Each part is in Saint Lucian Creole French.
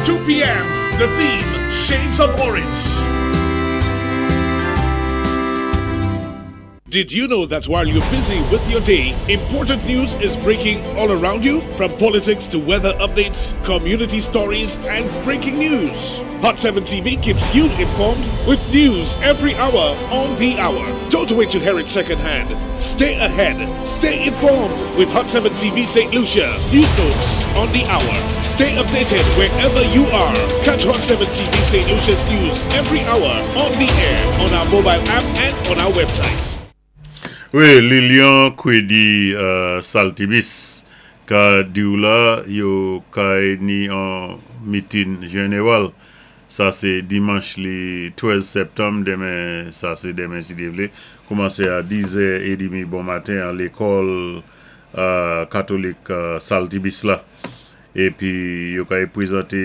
2 p.m. The theme, Shades of Orange. Did you know that while you're busy with your day, important news is breaking all around you? From politics to weather updates, community stories, and breaking news. Hot 7 TV keeps you informed with news every hour on the hour. Don't wait to hear it secondhand. Stay ahead. Stay informed with Hot 7 TV St. Lucia. News notes on the hour. Stay updated wherever you are. Catch Hot 7 TV St. Lucia's news every hour on the air, on our mobile app, and on our website. Wi, Lilian Kwedi Saltibis ka diw la yo kay ni on mitin jeneral sa sé dimanch li 13 sèptanm denmen sa sé denmen si Dye vlé koumansé a 10 zè edimi bon maten an lékòl katolik Saltibis la épi yo kay pwézanté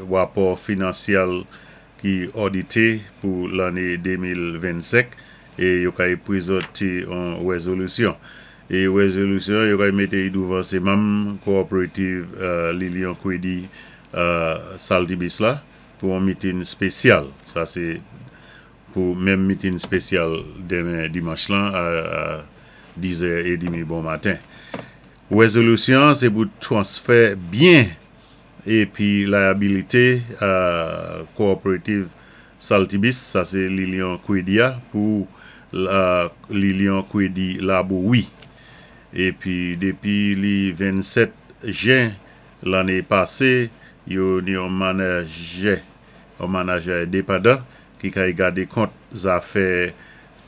wapò finansyal ki òdité pou lanné 2025 é yo kay pwézanté on wèzolisyon é wèzolisyon yo kay mété i douvan sé manm Cooperative Lilian Kwedi Saltibis la pou on mitin spésyal sa sé pou menm mitin spésyal denmen dimanch lan a 10 zè edimi bon maten. Wèzolisyon an sé pou twansfè byen épi layabilité Cooperative Saltibis, sa sé Lilian Kwedi a, pou Lilian Kwedi Labowi. Épi dépi li 27 jen lanné pasé, yo ni on manajè, on manajè endepandan ki kay gadé kont zafè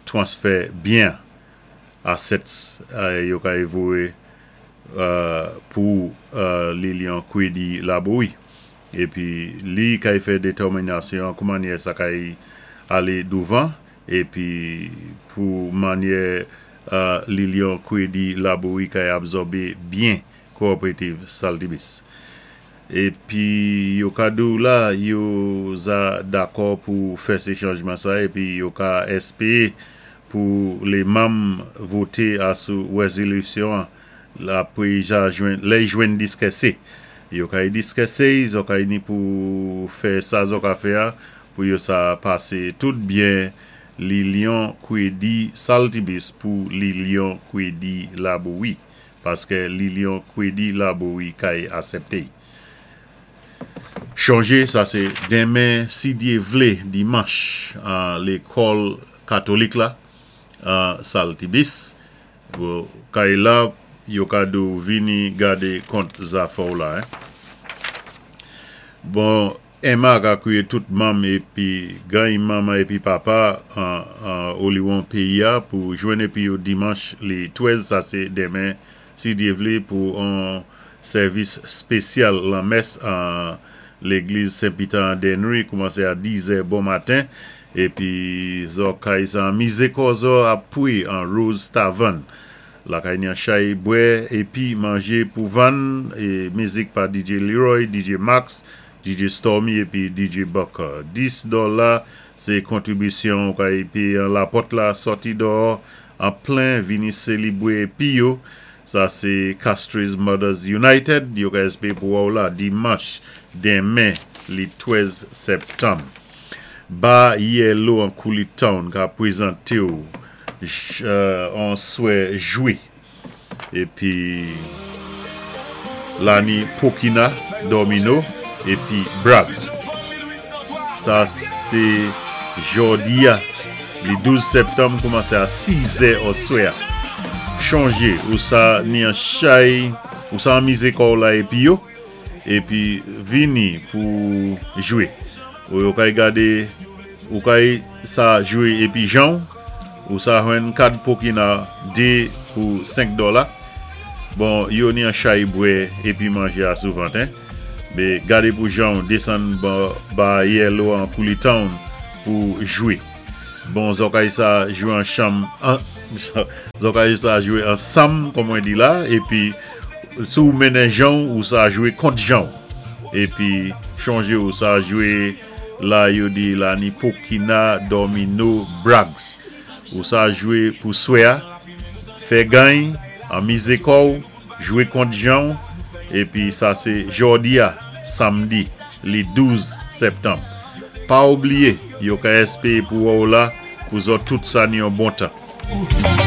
twansfè byen assets yo kay voyé pou Lilian Kwedi Labowi. Épi li kay fè détèminasyon kou mannyè sa kay alé douvan épi pou mannyè Lilian Kwedi Labowi kay abzòbé byen Cooperative Saltibis. Épi yo ka di'w la yo za dakò pou fè sé chanjman sa épi yo ka èspéé pou lé manm voté asou wèzolisyon an apwé ja jwenn lè y jwenn diskèsé. Yo kay diskèsé y zò kay ni pou fè sa zò ka fè a pou yo sa pasé tout byen Lilian Kwedi Saltibis pou Lilian Kwedi Labowi paskè Lilian Kwedi Labowi kay asèpté y. Chonjé sa sé denmen si Dyé vlé dimanch an lékòl katolik la an Saltibis kay la yo ka di w vini gadé kont zafè w la hein. Bon Emma ka kwiyé tout manm épi gany manman épi papa an oliwon péyi a pou jwenn épi yo dimanch li 13 sa sé denmen si Dye vle pou on sèvis spesyal lanmès an legliz Sen Pita an Dennery koumanse a 10 zè bon maten epi zò kay sa an mize kò zò ap pwi an Rose Tavern lakay ni an chay bwè epi manje pou vann e mizik pa DJ Leroy, DJ Max, DJ Stormy epi DJ Bucker 10 dòla se kontribisyon ou kay peye an lapòt la sòti dòò An plen vini selibwe epi yo Sa se Castries Mothers United yo ka espere pou wè w la dimanch denmen li 13 septanm. Ba Yellow an Kouli Town ka prezante w an swè jwe. Epi Lani Pokina Domino epi Brags. Sa se jòdi a li 12 septanm koumanse a 6 zè oswè a. Chonje ou sa ni an chay ou sa anmize kò w la epi yo epi vini pou jwe. Ou yo kay gade ou kay sa jwe epi jan w. Ou sa jwenn kad pokina 2 pou 5 dola. Bon yo ni an chay bwè epi manje a souvant hein. Be gade pou janw desann ba yellow an kouli town pou jwe. Bon zòkay sa jwe an chanm zòkay sa jwe ansanm kòm mwen di la epi si w mennen janw ou sa jwe kont janw. Epi chonje ou sa jwe La yo di la ni pokina domino brags ou sa jwe pou swè a fè gany anmize kòw jwe kont janw epi sa se jòdi a samdi. Li 12 sèptanb. Pa oubliyé, yo ka èspéwé pou wè ou la pou zòt tout sa ni yon bon tan.